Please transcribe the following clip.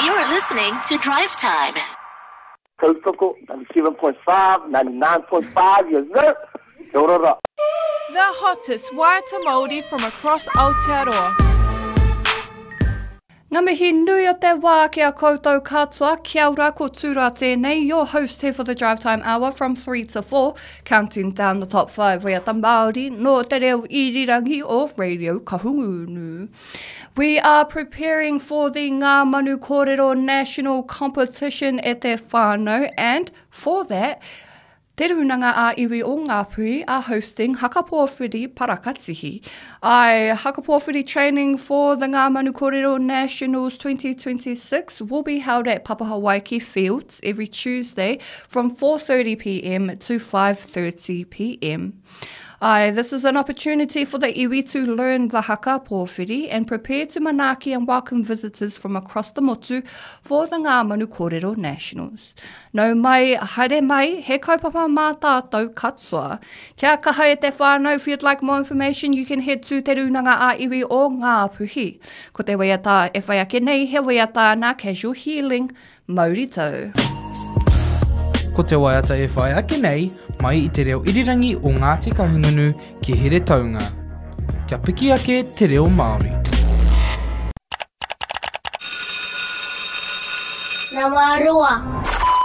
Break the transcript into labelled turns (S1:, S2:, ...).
S1: You're listening to Drive Time.
S2: Tautoko, 97.5, 99.5, yes sir! Kia ora ra.
S3: The hottest waiata Māori from across Aotearoa.
S4: Ngā mihi nui o te wā ki a koutou katoa, kia ora, ko Tūra tēnei, your host here for the Drive Time Hour from 3 to 4, counting down the top 5 waiata Māori nō te reo irirangi o Radio Kahungunu. We are preparing for the Ngā Manu Kōrero National Competition e te whānau and for that, Te Rūnanga ā Iwi o Ngāpuhi are hosting Haka Pōwhiri Parakatihi. Ae, Haka Pōwhiri training for the Ngā Manu Kōrero Nationals 2026 will be held at Papahawaiki Fields every Tuesday from 4.30pm to 5.30pm. Ae, this is an opportunity for the iwi to learn the haka pōwhiri and prepare to manaaki and welcome visitors from across the motu for the Ngā Manu Kōrero Nationals. Nau mai, haere mai, he kaupapa mā tātou katoa. Kia kaha e te whānau, if you'd like more information you can head to Te Rūnanga ā-Iwi o Ngāpuhi. Ko te waiata e whai ake nei he waiata nā Casual Healing. Mauri tau.
S5: Ko te waiata e whai ake nei, mai i te reo irirangi o Ngāti Kahungunu ki Heretaunga. Kia piki ake te reo Māori.
S6: Nama roa.